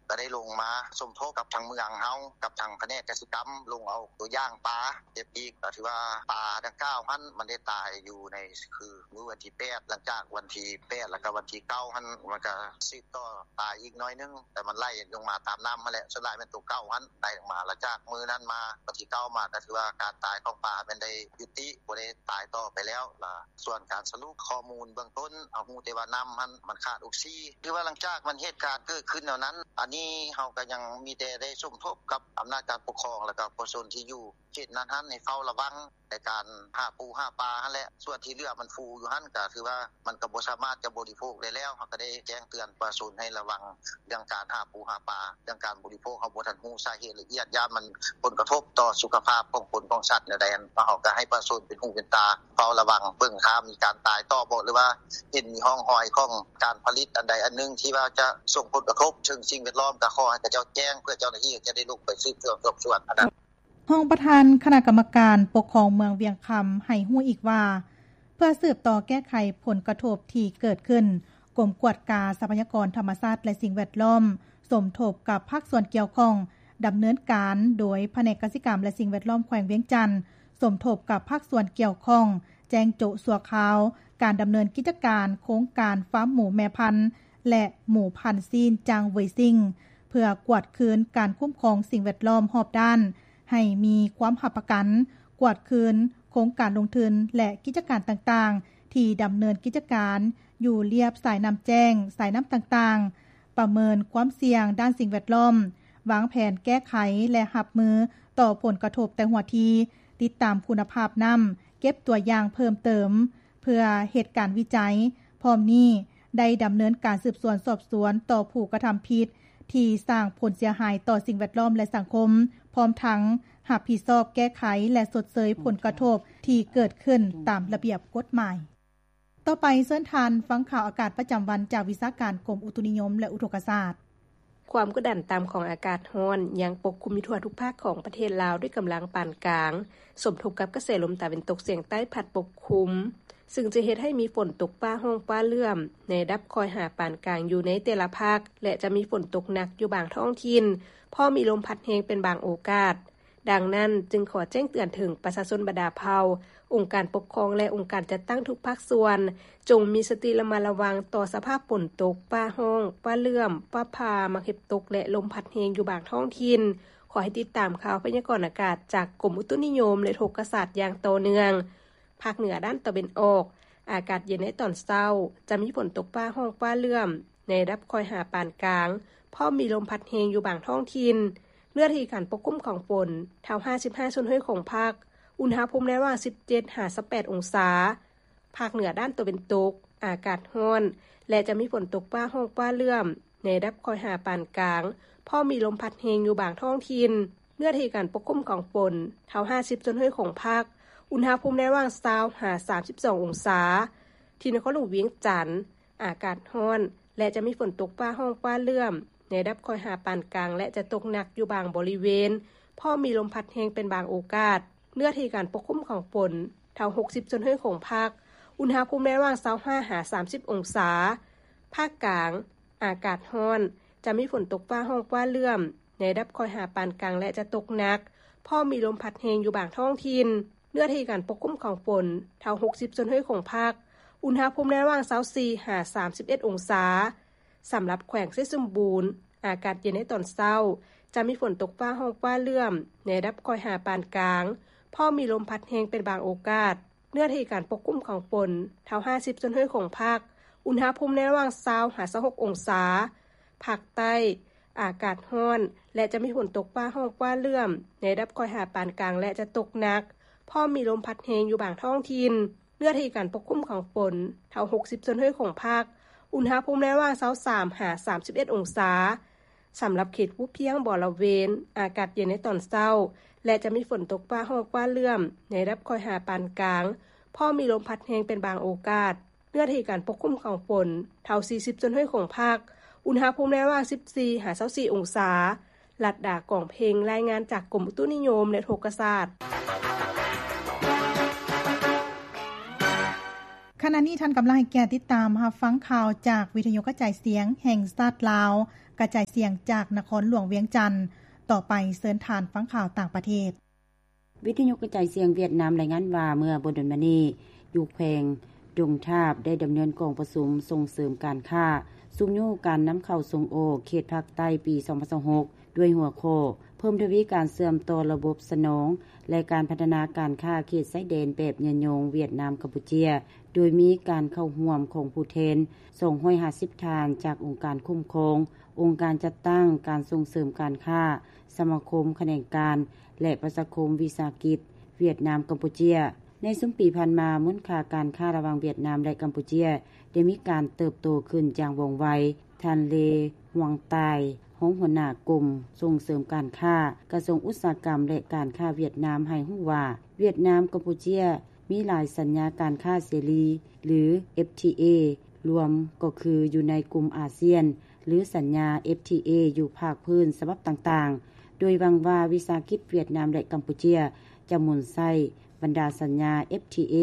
ກໍໄດ້ລົງມາສົມທົບກັບທາງເມືອງເຮົາ ກັບທາງພະແນກກະສິກຳ ລົງເອົາຕົວຢ່າງປາເກັບອີກ ກໍຖືວ່າປາດັ່ງກ່າວຫັ້ນ ມັນໄດ້ຕາຍຢູ່ໃນຄືມື້ວັນທີແປດ ຫຼັງຈາກວັນທີແປດ ແລ້ວກໍວັນທີເກົ້າຫັ້ນ ມັນກໍສືບຕໍ່ຕາຍອີກໜ້ອຍໜຶ່ງ ແຕ່ມັນໄຫຼລົງມາຕາມນ້ຳຫັ້ນແຫຼະ ສ່ວນຫຼາຍແມ່ນຕົວເກົ່າຫັ້ນໄຫຼລົງມາ ແລ້ວຈາກມື້ນັ້ນມາ ວັນທີເກົ້າມາ ກໍຖືວ່າການຕາຍຂອງປາແມ່ນໄດ້ຍຸຕິ ບໍ່ໄດ້ຕາຍຕໍ່ໄປແລ້ວລະ ສ່ວນການສະຫຼຸບຂໍ້ມູນເບື້ອງຕົ້ນ ເຮົາຮູ້ແຕ່ວ່ານ້ຳຫັ້ນມັນຂາດອົກຊີ ຖືວ່າຫຼັງຈາກມັນເຫດການເກີດຂຶ້ນແນວນັ້ນ ອັນນີ້ເຮົາກໍຍັງມີແຕ່ໄດ້ສົມທົບກັບອຳນາດການປົກຄອງ ແລ້ວກໍປະຊາຊົນທີ່ຢູ່ເຂດນັ້ນຫັ້ນ ໃຫ້ເຝົ້າລະວັງໃນການຫາປູຫາປາຫັ້ນແຫຼະ ສ່ວນທີ່ເຫຼືອມັນຟູຢູ່ຫັ້ນ ກໍຖືວ່າມັນກໍບໍ່ສາມາດຈະບໍລິໂພກໄດ້ແລ້ວ ເຮົາກໍໄດ້ແຈ້ງເຕືອນປະຊາຊົນໃຫ້ລະວັງເລື່ອງການຫາປູຫາປາ ເລື່ອງການບໍລິໂພກ ເຮົາບໍ່ທັນຮູ້ສາເຫດລະອຽດ ຢ້ານມັນຜົນກະທົບຕໍ່ສຸຂະພາບຂອງຄົນຂອງສັດແນວໃດ ເຮົາກໍໃຫ້ປະຊາຊົນເປັນຫູເປັນຕາ ເຝົ້າລະວັງເບິ່ງຖ້າມີການຕາຍຕໍ່ບໍ່ ຫຼືວ່າເຫັນມີຮ່ອງຮອຍຂອງການຜະລິດອັນໃດອັນໜຶ່ງ ທີ່ວ່າຈະສົ່ງຜົນກະທົບເຖິງສິ່ງແວດລ້ອມ ກໍຂໍໃຫ້ເຂົາເຈົ້າແຈ້ງ ເພື່ອເຈົ້າໜ້າທີ່ຈະໄດ້ລົງໄປສືບສວນສອບສວນ. ຮອງປະທານຄະນະກຳມະການປົກຄອງເມືອງວຽງຄຳໃຫ້ຮູ້ອີກວ່າ ເພື່ອສືບຕໍ່ແກ້ໄຂຜົນກະທົບທີ່ເກີດຂຶ້ນ, ກົມກວດກາຊັບພະຍາກອນທຳມະຊາດ ແລະ ສິ່ງແວດລ້ອມ ສົມທົບກັບພາກສ່ວນກ່ຽວຂ້ອງ ດຳເນີນການ ໂດຍພະແນກກະສິກຳ ແລະ ສິ່ງແວດລ້ອມແຂວງວຽງຈັນ ສົມທົບກັບພາກສ່ວນກ່ຽວຂ້ອງ ແຈ້ງໂຈະຊົ່ວຄາວ ການດຳເນີນກິດຈະການໂຄງການຟາມໝູແມ່ພັນ ແລະ ໝູພັນຊີ້ນຈາງເຫວີຍຊິງ ເພື່ອກວດຄືນການຄຸ້ມຄອງສິ່ງແວດລ້ອມຮອບດ້ານ ໃຫ້ມີຄວາມຮັບປະກັນ, ກວດຄືນໂຄງການລົງທຶນ ແລະ ກິດຈະການຕ່າງໆ ທີ່ດຳເນີນກິດຈະການຢູ່ລຽບສາຍນ້ຳແຈ້ງ, ສາຍນ້ຳຕ່າງໆ, ປະເມີນຄວາມສ່ຽງດ້ານສິ່ງແວດລ້ອມ, ວາງແຜນແກ້ໄຂ ແລະ ຮັບມືຕໍ່ຜົນກະທົບແຕ່ຫົວທີ, ຕິດຕາມຄຸນນະພາບນ້ຳ, ເກັບຕົວຢ່າງເພີ່ມເຕີມ ເພື່ອເຮັດການວິໄຈ. ພ້ອມນີ້ ໄດ້ດຳເນີນການສືບສວນສອບສວນຕໍ່ຜູ້ກະທຳຜິດ ທີ່ສ້າງຜົນເສຍຫາຍຕໍ່ສິ່ງແວດລ້ອມ ແລະ ສັງຄົມ, ພ້ອມທັງຮັບຜິດຊອບແກ້ໄຂ ແລະ ຊົດເຊີຍຜົນກະທົບທີ່ເກີດຂຶ້ນຕາມລະບຽບກົດໝາຍ. ຕໍ່ໄປເຊີນທ່ານຟັງຂ່າວອາກາດປະຈຳວັນ ຈາກວິຊາການກົມອຸຕຸນິຍົມ ແລະ ອຸທົກກະສາດ. ຄວາມກົດດັນຕ່ຳຂອງອາກາດຮ້ອນຍັງປົກຄຸມຢູ່ທົ່ວທຸກພາກຂອງປະເທດລາວ ດ້ວຍກຳລັງປານກາງ, ສົມທົບກັບກະແສລົມຕາເວັນຕົກສຽງໃຕ້ພັດປົກຄຸມ, ຊຶ່ງຈະເຮັດໃຫ້ມີຝົນຕົກຟ້າຮ້ອງຟ້າເຫຼື້ອມໃນລະດັບຄ່ອຍຫາປານກາງຢູ່ໃນແຕ່ລະພາກ ແລະ ຈະມີຝົນຕົກໜັກຢູ່ບາງທ້ອງຖິ່ນ, ພ້ອມມີລົມພັດແຮງເປັນບາງໂອກາດ. ດັ່ງນັ້ນ, ຈຶ່ງຂໍແຈ້ງເຕືອນເຖິງປະຊາຊົນບັນດາເຜົ່າ, ອົງການປົກຄອງ ແລະ ອົງການຈັດຕັ້ງທຸກພາກສ່ວນ, ຈົ່ງມີສະຕິລະມັດລະວັງຕໍ່ສະພາບຝົນຕົກ, ຟ້າຮ້ອງ, ຟ້າເຫຼື້ອມ, ຟ້າຜ່າ, ໝາກເຫັບຕົກ ແລະ ລົມພັດແຮງຢູ່ບາງທ້ອງຖິ່ນ. ຂໍໃຫ້ຕິດຕາມຂ່າວພະຍາກອນອາກາດຈາກກົມອຸຕຸນິຍົມ ແລະ ອຸທົກກະສາດຢ່າງຕໍ່ເນື່ອງ. ພາກເໜືອດ້ານຕາເວັນອອກ, ອາກາດເຢັນໃນຕອນເຊົ້າ, ຈະມີຝົນຕົກຟ້າຮ້ອງຟ້າເຫຼື້ອມ ໃນລະດັບຄ່ອຍຫາປານກາງ, ພ້ອມມີລົມພັດແຮງຢູ່ບາງທ້ອງຖິ່ນ. ເນື້ອທີ່ການປົກຄຸມຂອງຝົນ ເທົ່າຫ້າສິບຫ້າສ່ວນຮ້ອຍຂອງພາກ, ອຸນຫະພູມໃນລະຫວ່າງສິບເຈັດຫາຊາວແປດອົງສາ. ພາກເໜືອດ້ານຕາເວັນຕົກ, ອາກາດຮ້ອນ ແລະ ຈະມີຝົນຕົກຟ້າຮ້ອງຟ້າເຫຼື້ອມ ໃນລະດັບຄ່ອຍຫາປານກາງ, ພ້ອມມີລົມພັດແຮງຢູ່ບາງທ້ອງຖິ່ນ. ເນື້ອທີ່ການປົກຄຸມຂອງຝົນ ເທົ່າຫ້າສິບສ່ວນຮ້ອຍຂອງພາກ, ອຸນຫະພູມໃນລະຫວ່າງຊາວຫາສາມສິບສອງອົງສາ. ທີ່ນະຄອນຫຼວງວຽງຈັນ, ອາກາດຮ້ອນ ແລະ ຈະມີຝົນຕົກຟ້າຮ້ອງຟ້າເຫຼື້ອມ ໃນລະດັບຄ່ອຍຫາປານກາງ ແລະ ຈະຕົກໜັກຢູ່ບາງບໍລິເວນ, ພ້ອມມີລົມພັດແຮງເປັນບາງໂອກາດ. ເນື້ອທີ່ການປົກຄຸມຂອງຝົນ ເທົ່າຫົກສິບສ່ວນຮ້ອຍຂອງພາກ, ອຸນຫະພູມໃນລະຫວ່າງຊາວຫ້າຫາສາມສິບອົງສາ. ພາກກາງ, ອາກາດຮ້ອນ, ຈະມີຝົນຕົກຟ້າຮ້ອງຟ້າເຫຼື້ອມ ໃນລະດັບຄ່ອຍຫາປານກາງ ແລະ ຈະຕົກໜັກ, ພ້ອມມີລົມພັດແຮງຢູ່ບາງທ້ອງຖິ່ນ. ເນື້ອທີ່ການປົກຄຸມຂອງຝົນ ເທົ່າຫົກສິບສ່ວນຮ້ອຍຂອງພາກ, ອຸນຫະພູມໃນລະຫວ່າງຊາວສີ່ຫາສາມສິບເອັດອົງສາ. ສຳລັບແຂວງໄຊສົມບູນ, ອາກາດເຢັນໃນຕອນເຊົ້າ, ຈະມີຝົນຕົກຟ້າຮ້ອງຟ້າເຫຼື້ອມ ໃນລະດັບຄ່ອຍຫາປານກາງ, ພ້ອມມີລົມພັດແຮງເປັນບາງໂອກາດ. ເນື້ອທີ່ການປົກຄຸມຂອງຝົນ ເທົ່າຫ້າສິບສ່ວນຮ້ອຍຂອງພາກ, ອຸນຫະພູມໃນລະຫວ່າງຊາວຫາຊາວຫົກອົງສາ. ພາກໃຕ້, ອາກາດຮ້ອນ ແລະ ຈະມີຝົນຕົກຟ້າຮ້ອງຟ້າເຫຼື້ອມ ໃນລະດັບຄ່ອຍຫາປານກາງ ແລະ ຈະຕົກໜັກ, ພ້ອມມີລົມພັດແຮງຢູ່ບາງທ້ອງຖິ່ນ. ເນື້ອທີ່ການປົກຄຸມຂອງຝົນ ເທົ່າຫົກສິບສ່ວນຮ້ອຍຂອງພາກ, ອຸນຫະພູມໃນລະຫວ່າງຊາວສາມຫາສາມສິບເອັດອົງສາ. ສຳລັບເຂດພູພຽງບໍລະເວນ, ອາກາດເຢັນໃນຕອນເຊົ້າ ແລະ ຈະມີຝົນຕົກຟ້າຮ້ອງຟ້າເຫຼື້ອມ ໃນລະດັບຄ່ອຍຫາປານກາງ, ພ້ອມມີລົມພັດແຮງເປັນບາງໂອກາດ. ເນື້ອທີ່ການປົກຄຸມຂອງຝົນ ເທົ່າສີ່ສິບສ່ວນຮ້ອຍຂອງພາກ, ອຸນຫະພູມໃນລະຫວ່າງສິບສີ່ຫາຊາວສີ່ອົງສາ. ລັດດາ ກອງເພັງ, ລາຍງານຈາກກົມອຸຕຸນິຍົມ ແລະ ອຸທົກກະສາດ. ຂະນະນີ້ທ່ານກຳລັງໃຫ້ກຽດຕິດຕາມຮັບຟັງຂ່າວຈາກວິທະຍຸກະຈາຍສຽງແຫ່ງຊາດລາວ, ກະຈາຍສຽງຈາກນະຄອນຫຼວງວຽງຈັນ. ຕໍ່ໄປເຊີນທ່ານຟັງຂ່າວຕ່າງປະເທດ. ວິທະຍຸກະຈາຍສຽງຫວຽດນາມລາຍງານວ່າ ເມື່ອບໍ່ດົນມານີ້ ຢູ່ແຂວງດົງທາບ ໄດ້ດຳເນີນກອງປະຊຸມສົ່ງເສີມການຄ້າ, ຊຸກຍູ້ການນຳເຂົ້າສົ່ງອອກເຂດພາກໃຕ້ປີສອງພັນຊາວຫົກ ດ້ວຍຫົວຂໍ້ ເພີ່ມທະວີການເຊື່ອມຕໍ່ລະບົບສະໜອງ ແລະ ການພັດທະນາການຄ້າເຂດຊາຍແດນແບບຍືນຍົງ ຫວຽດນາມ-ກຳປູເຈຍ ໂດຍມີການເຂົ້າຮ່ວມຂອງຜູ້ແທນສອງຮ້ອຍຫ້າສິບທ່ານ ຈາກອົງການຄຸ້ມຄອງ, ອົງການຈັດຕັ້ງ, ການສົ່ງເສີມການຄ້າ, ສະມາຄົມຂະແໜງການ ແລະ ປະຊາຄົມວິສາຫະກິດຫວຽດນາມ-ກຳປູເຈຍ. ໃນຊຸມປີຜ່ານມາ, ມູນຄ່າການຄ້າລະຫວ່າງຫວຽດນາມ ແລະ ກຳປູເຈຍ ໄດ້ມີການເຕີບໂຕຂຶ້ນຢ່າງວ່ອງໄວ. ທ່ານ ເລ ຫວງຕາຍ, ຮອງຫົວໜ້າກົມສົ່ງເສີມການຄ້າ, ກະຊວງອຸດສາຫະກຳ ແລະ ການຄ້າຫວຽດນາມ ໃຫ້ຮູ້ວ່າ ຫວຽດນາມ-ກຳປູເຈຍ ມີຫຼາຍສັນຍາການຄ້າເສລີ ຫຼື ເອັຟທີເອ ລວມກໍຄືຢູ່ໃນກຸ່ມອາຊຽນ ຫຼື ສັນຍາ ເອັຟທີເອ ຢູ່ພາກພື້ນສະບັບຕ່າງໆ, ໂດຍຫວັງວ່າວິສາຫະກິດຫວຽດນາມ ແລະ ກຳປູເຈຍ ຈະໝູນໃຊ້ບັນດາສັນຍາ ເອັຟທີເອ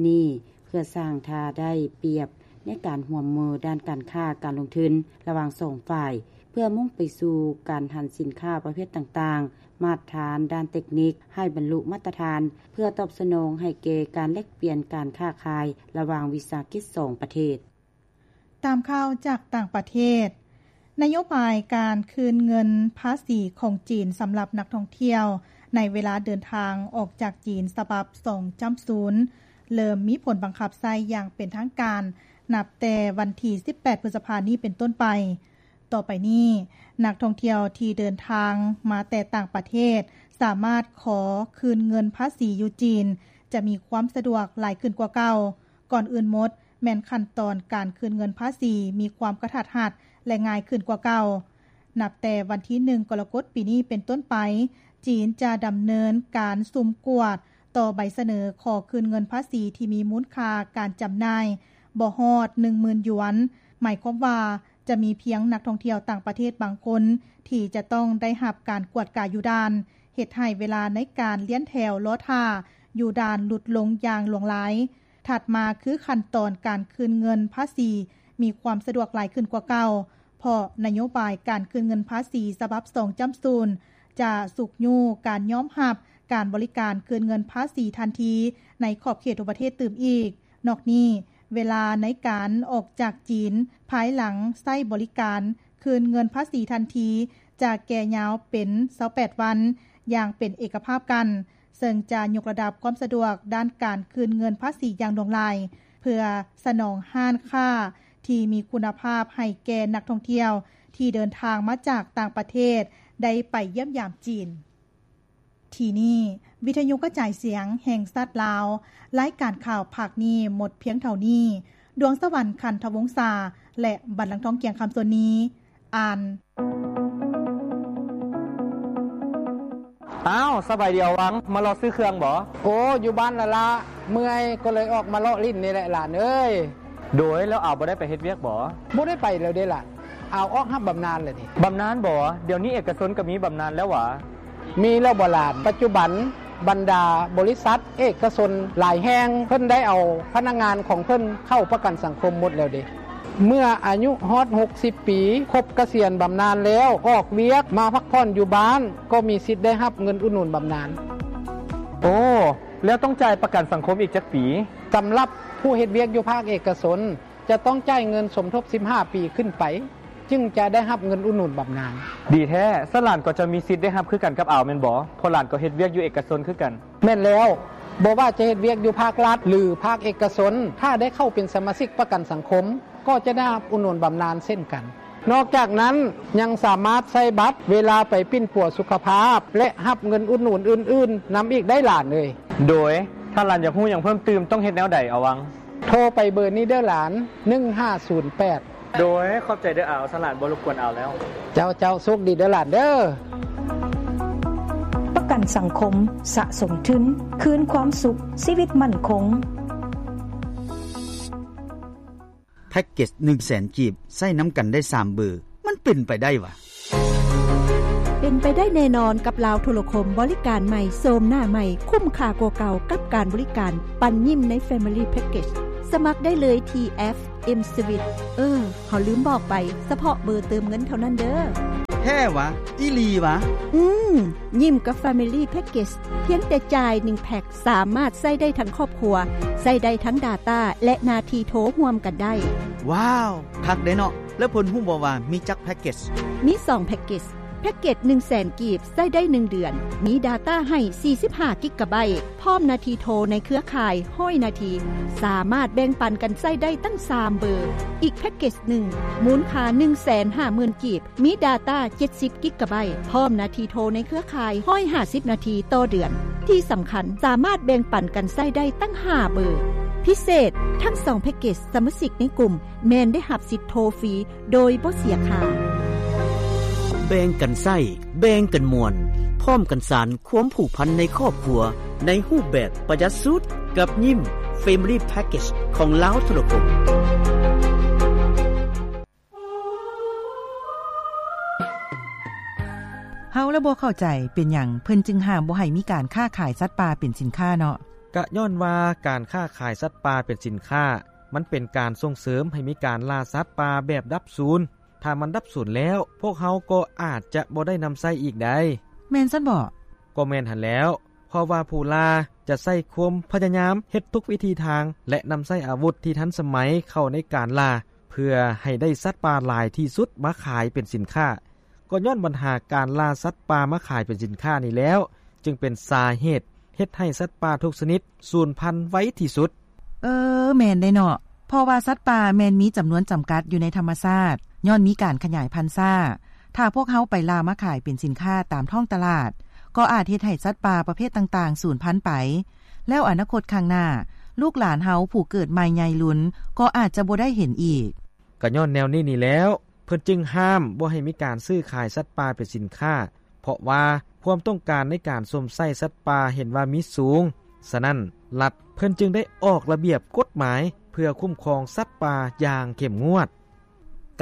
ນີ້ ເພື່ອສ້າງທ່າໄດ້ປຽບໃນການຮ່ວມມືດ້ານການຄ້າການລົງທຶນລະຫວ່າງສອງຝ່າຍ, ເພື່ອມຸ່ງໄປສູ່ການຫັນສິນຄ້າປະເພດຕ່າງໆ, ມາດຖານດ້ານເຕັກນິກໃຫ້ບັນລຸມາດຕະຖານ, ເພື່ອຕອບສະໜອງໃຫ້ແກ່ການແລກປ່ຽນການຄ້າຂາຍລະຫວ່າງວິສາຫະກິດສອງປະເທດ. ຕາມຂ່າວຈາກຕ່າງປະເທດ, ນະໂຍບາຍການຄືນເງິນພາສີຂອງຈີນສຳລັບນັກທ່ອງທ່ຽວໃນເວລາເດີນທາງອອກຈາກຈີນ ສະບັບສອງຈ້ຳສູນ ເລີ່ມມີຜົນບັງຄັບໃຊ້ຢ່າງເປັນທາງການ ນັບແຕ່ວັນທີສິບແປດ ພຶດສະພານີ້ເປັນຕົ້ນໄປ. ຕໍ່ໄປນີ້, ນັກທ່ອງທ່ຽວທີ່ເດີນທາງມາແຕ່ຕ່າງປະເທດ ສາມາດຂໍຄືນເງິນພາສີຢູ່ຈີນ ຈະມີຄວາມສະດວກຫຼາຍຂຶ້ນກວ່າເກົ່າ. ກ່ອນອື່ນໝົດ, ແມ່ນຂັ້ນຕອນການຄືນເງິນພາສີມີຄວາມກະທັດຮັດ ແລະ ງ່າຍຂຶ້ນກວ່າເກົ່າ. ນັບແຕ່ວັນທີໜຶ່ງ ກໍລະກົດ ປີນີ້ເປັນຕົ້ນໄປ, ຈີນຈະດຳເນີນການສຸ່ມກວດຕໍ່ໃບສະເໜີຂໍຄືນເງິນພາສີທີ່ມີມູນຄ່າການຈຳໜ່າຍບໍ່ຮອດໜຶ່ງໝື່ນຢວນ, ໝາຍຄວາມວ່າຈະມີພຽງນັກທ່ອງທ່ຽວຕ່າງປະເທດບາງຄົນທີ່ຈະຕ້ອງໄດ້ຮັບການກວດກາຢູ່ດ່ານ, ເຮັດໃຫ້ເວລາໃນການລຽນແຖວລໍຖ້າຢູ່ດ່ານຫຼຸດລົງຢ່າງຫຼວງຫຼາຍ. ຖັດມາຄືຂັ້ນຕອນການຄືນເງິນພາສີມີຄວາມສະດວກຫຼາຍຂຶ້ນກວ່າເກົ່າ, ເພາະນະໂຍບາຍການຄືນເງິນພາສີສະບັບສອງຈ້ຳສູນ ຈະຊຸກຍູ້ການຍອມຮັບການບໍລິການຄືນເງິນພາສີທັນທີໃນຂອບເຂດທົ່ວປະເທດຕື່ມອີກ. ນອກນີ້, ເວລາໃນການອອກຈາກຈີນ ພາຍຫຼັງໃຊ້ບໍລິການຄືນເງິນພາສີທັນທີ ຈະແກ່ຍາວເປັນຊາວແປດວັນ ຢ່າງເປັນເອກະພາບກັນ, ເຊິ່ງຈະຍົກລະດັບຄວາມສະດວກດ້ານການຄືນເງິນພາສີຢ່າງຫຼວງຫຼາຍ ເພື່ອສະໜອງຮ້ານຄ້າທີ່ມີຄຸນນະພາບໃຫ້ແກ່ນັກທ່ອງທ່ຽວທີ່ເດີນທາງມາຈາກຕ່າງປະເທດໄດ້ໄປຢ້ຽມຢາມຈີນ. ທີ່ນີ້ ວິທະຍຸກະຈາຍສຽງແຫ່ງຊາດລາວ, ລາຍການຂ່າວພາກນີ້ໝົດພຽງເທົ່ານີ້. ດວງສະຫວັນ ຄັນທະວົງສາ ແລະ ບັນລັງທອງ ກຽງຄຳ ສ່ວນນີ້ ອ່ານ. ອ້າວ ສະບາຍດີອາວັງ, ມາເລາະຊື້ເຄື່ອງບໍ? ໂອ້ ຢູ່ບ້ານລະລະ, ເມື່ອຍກໍເລີຍອອກມາເລາະຫຼິ້ນນີ້ແຫຼະຫຼານເອີຍ. ໂດຍ ແລ້ວອາວບໍ່ໄດ້ໄປເຮັດວຽກບໍ? ບໍ່ໄດ້ໄປແລ້ວເດ້ຫຼານ, ອາວອອກຮັບບຳນານແລ້ວນີ້. ບຳນານບໍ? ດຽວນີ້ເອກະຊົນກໍມີບຳນານແລ້ວຫວາ? ມີແລ້ວບໍ່ຫຼານ? ປັດຈຸບັນ ບັນດາບໍລິສັດເອກະຊົນຫຼາຍແຫ່ງ ເພິ່ນໄດ້ເອົາພະນັກງານຂອງເພິ່ນເຂົ້າປະກັນສັງຄົມໝົດແລ້ວເດ້. ເມື່ອອາຍຸຮອດຫົກສິບປີ ຄົບກະສຽນບຳນານແລ້ວ ອອກວຽກມາພັກຜ່ອນຢູ່ບ້ານ ກໍມີສິດໄດ້ຮັບເງິນອຸດໜູນບຳນານ. ໂອ້ ແລ້ວຕ້ອງຈ່າຍປະກັນສັງຄົມອີກຈັກປີ? ສຳລັບຜູ້ເຮັດວຽກຢູ່ພາກເອກະຊົນ ຈະຕ້ອງຈ່າຍເງິນສົມທົບສິບຫ້າປີຂຶ້ນໄປ ຈຶ່ງຈະໄດ້ຮັບເງິນອຸດໜູນບຳນານ. ດີແທ້, ຊັ້ນຫຼານກໍຈະມີສິດໄດ້ຮັບຄືກັນກັບອາວແມ່ນບໍ? ເພາະຫຼານກໍເຮັດວຽກຢູ່ເອກະຊົນຄືກັນ. ແມ່ນແລ້ວ, ບໍ່ວ່າຈະເຮັດວຽກຢູ່ພາກລັດ ຫຼື ພາກເອກະຊົນ, ຖ້າໄດ້ເຂົ້າເປັນສະມາຊິກປະກັນສັງຄົມ, ກໍຈະໄດ້ຮັບອຸດໜູນບຳນານເຊັ່ນກັນ. ນອກຈາກນັ້ນ, ຍັງສາມາດໃຊ້ບັດເວລາໄປປິ່ນປົວສຸຂະພາບ ແລະ ຮັບເງິນອຸດໜູນອື່ນໆນຳອີກໄດ້ຫຼານເອີຍ. ໂດຍ, ຖ້າຫຼານຢາກຮູ້ຫຍັງເພີ່ມຕື່ມ ຕ້ອງເຮັດແນວໃດອາວັງ? ໂທໄປເບີນີ້ເດີຫຼານ, ໜຶ່ງຫ້າສູນແປດ. ໂດຍ, ຂອບໃຈເດີອາວ, ສະຫຼານບໍ່ລົບກວນອາວແລ້ວ. ເຈົ້າ, ເຈົ້າ, ໂຊກດີເດີຫຼານເດີ. ປະກັນສັງຄົມ, ສະສົມທຶນ, ຄືນຄວາມສຸກ, ຊີວິດໝັ້ນຄົງ. ແພັກເກັດໜຶ່ງແສນກີບ ໃຊ້ນຳກັນໄດ້ສາມເບີ, ມັນເປັນໄປໄດ້ຫວາ? ເປັນໄປໄດ້ແນ່ນອນກັບລາວໂທລະຄົມ, ບໍລິການໃໝ່, ໂສມໜ້າໃໝ່, ຄຸ້ມຄ່າກວ່າເກົ່າກັບການບໍລິການ, ປັນຍິ້ມໃນ Family Package. ສະໝັກໄດ້ເລີຍທີ່ແອັບ M-Swiss. ເອີ ເຮົາລືມບອກໄປ, ສະເພາະເບີເຕີມເງິນເທົ່ານັ້ນເດີ້. ແທ້ຫວາ? ອີ່ຫຼີຫວາ? ອືມ, ຍິ້ມກັບ Family Package ພຽງແຕ່ຈ່າຍໜຶ່ງແພັກ ສາມາດໃຊ້ໄດ້ທັງຄອບຄົວ, ໃຊ້ໄດ້ທັງ data ແລະ ນາທີໂທຮ່ວມກັນໄດ້. ວ້າວ, ຄັກເດເນາະ. ແລ້ວເພິ່ນຮູ້ບໍ່ວ່າມີຈັກ package? ມີສອງ package. ແພັກເກັດໜຶ່ງແສນກີບ ໃຊ້ໄດ້ໜຶ່ງເດືອນ, ມີ data ໃຫ້ສີ່ສິບຫ້າກິກກະໄບ, ພ້ອມນາທີໂທໃນເຄືອຂ່າຍຮ້ອຍນາທີ, ສາມາດແບ່ງປັນກັນໃຊ້ໄດ້ຕັ້ງສາມເບີ. ອີກແພັກເກັດໜຶ່ງ ມູນຄ່າໜຶ່ງແສນຫ້າໝື່ນກີບ, ມີ data ເຈັດສິບກິກກະໄບ, ພ້ອມນາທີໂທໃນເຄືອຂ່າຍຮ້ອຍຫ້າສິບນາທີຕໍ່ເດືອນ. ທີ່ສຳຄັນ, ສາມາດແບ່ງປັນກັນໃຊ້ໄດ້ຕັ້ງຫ້າເບີ. ພິເສດ, ທັງສອງແພັກເກັດສະມາຊິກໃນກຸ່ມ ແມ່ນໄດ້ຮັບສິດໂທຟຣີໂດຍບໍ່ເສຍຄ່າ. ແບ່ງກັນໃຊ້, ແບ່ງກັນມ່ວນ, ພ້ອມກັນສານຄວາມຜູກພັນໃນຄອບຄົວ ໃນຮູບແບບປະຢັດສຸດ ກັບຍິ້ມ Family Package ຂອງລາວໂທລະຄົມ. ເຮົາລະບໍ່ເຂົ້າໃຈ ເປັນຫຍັງເພິ່ນຈຶ່ງຫ້າມບໍ່ໃຫ້ມີການຄ້າຂາຍສັດປ່າເປັນສິນຄ້າເນາະ? ກະຍ້ອນວ່າການຄ້າຂາຍສັດປ່າເປັນສິນຄ້າ ມັນເປັນການສົ່ງເສີມໃຫ້ມີການລ່າສັດປ່າແບບດັບສູນ. ຖ້າມັນດັບສູນແລ້ວ, ພວກເຮົາກໍອາດຈະບໍ່ໄດ້ນຳໃຊ້ອີກໄດ໋. ແມ່ນຊັ້ນບໍ? ກໍແມ່ນຫັ້ນແລ້ວ, ເພາະວ່າຜູ້ລ່າຈະໃຊ້ຄວາມພະຍາຍາມເຮັດທຸກວິທີທາງ ແລະ ນຳໃຊ້ອາວຸດທີ່ທັນສະໄໝເຂົ້າໃນການລ່າ ເພື່ອໃຫ້ໄດ້ສັດປ່າຫຼາຍທີ່ສຸດມາຂາຍເປັນສິນຄ້າ. ກໍຍ້ອນບັນຫາການລ່າສັດປ່າມາຂາຍເປັນສິນຄ້ານີ້ແລ້ວ ຈຶ່ງເປັນສາເຫດເຮັດໃຫ້ສັດປ່າທຸກຊະນິດສູນພັນໄວທີ່ສຸດ. ເອີ ແມ່ນເດ້ເນາະ, ເພາະວ່າສັດປ່າແມ່ນມີຈຳນວນຈຳກັດຢູ່ໃນທຳມະຊາດ ຍ້ອນມີການຂະຫຍາຍພັນຊ້າ. ຖ້າພວກເຮົາໄປລ່າມາຂາຍເປັນສິນຄ້າຕາມທ້ອງຕະຫຼາດ ກໍອາດເຮັດໃຫ້ສັດປ່າປະເພດຕ່າງໆສູນພັນໄປ, ແລ້ວອະນາຄົດຂ້າງໜ້າ ລູກຫຼານເຮົາຜູ້ເກີດໃໝ່ໃຫຍ່ລຸນ ກໍອາດຈະບໍ່ໄດ້ເຫັນອີກ. ກະຍ້ອນແນວນີ້ນີ້ແລ້ວ ເພິ່ນຈຶ່ງຫ້າມບໍ່ໃຫ້ມີການຊື້ຂາຍສັດປ່າເປັນສິນຄ້າ, ເພາະວ່າຄວາມຕ້ອງການໃນການຊົມໃຊ້ສັດປ່າເຫັນວ່າມີສູງ. ສະນັ້ນ, ລັດເພິ່ນຈຶ່ງໄດ້ອອກລະບຽບກົດໝາຍເພື່ອຄຸ້ມຄອງສັດປ່າຢ່າງເຂັ້ມງວດ.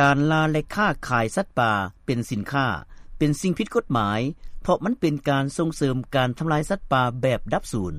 ການລ່າ ແລະ ຄ້າຂາຍສັດປ່າເປັນສິນຄ້າ ເປັນສິ່ງຜິດກົດໝາຍ, ເພາະມັນເປັນການສົ່ງເສີມການທຳລາຍສັດປ່າແບບດັບສູນ.